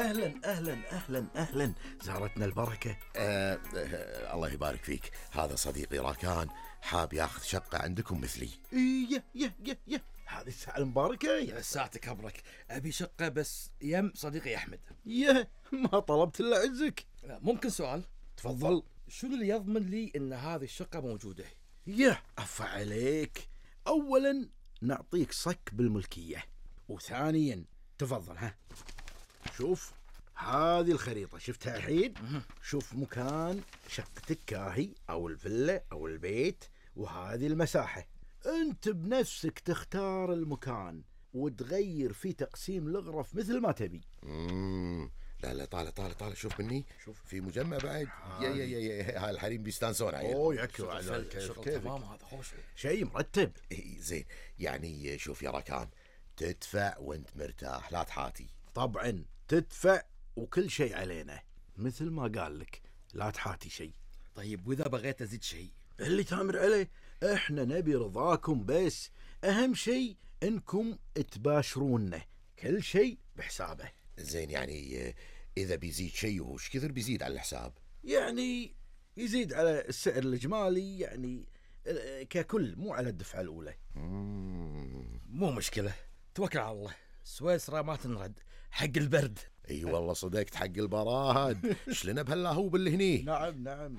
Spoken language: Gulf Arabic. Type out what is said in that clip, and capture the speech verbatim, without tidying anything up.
أهلا أهلا أهلا أهلا، زارتنا البركة. أه أه الله يبارك فيك. هذا صديقي راكان حاب ياخذ شقة عندكم مثلي. إيه يه يه يه هذه الساعة المباركة. يا ساعتك أبرك، أبي شقة بس يم صديقي أحمد. يه ما طلبت إلا عزك. ممكن سؤال؟ تفضل. شنو اللي يضمن لي إن هذه الشقة موجودة؟ يه عفا عليك. أولا نعطيك صك بالملكية، وثانيا تفضل ها شوف هذه الخريطة شفتها الحين؟ شوف مكان شقتك كاهي أو الفيلا أو البيت، وهذه المساحة. أنت بنفسك تختار المكان وتغير في تقسيم الغرف مثل ما تبي. مم. لا لا طالع طالع طالع شوف مني، شوف في مجمع بعد. يا يا يا يا هاي الحريم بيستانسون عليه. اوه يكفي على شغل تمام، هذا خوش شيء مرتب. إيه زين، يعني شوف يا راكان، تدفع وانت مرتاح لا تحاتي. طبعا تدفع وكل شيء علينا مثل ما قال لك، لا تحاتي شيء. طيب وإذا بغيت أزيد شيء؟ اللي تامر عليه، احنا نبي رضاكم بس. اهم شيء انكم تباشرونا، كل شيء بحسابه. زين يعني اذا بيزيد شيء وش كثر بيزيد على الحساب؟ يعني يزيد على السعر الإجمالي، يعني ككل، مو على الدفعة الأولى. مو مشكلة، توكل على الله. سويسرا ما تنرد حق البرد. اي والله صدقت حق البراد. شلنا بهاللاهوب اللي هني. نعم نعم.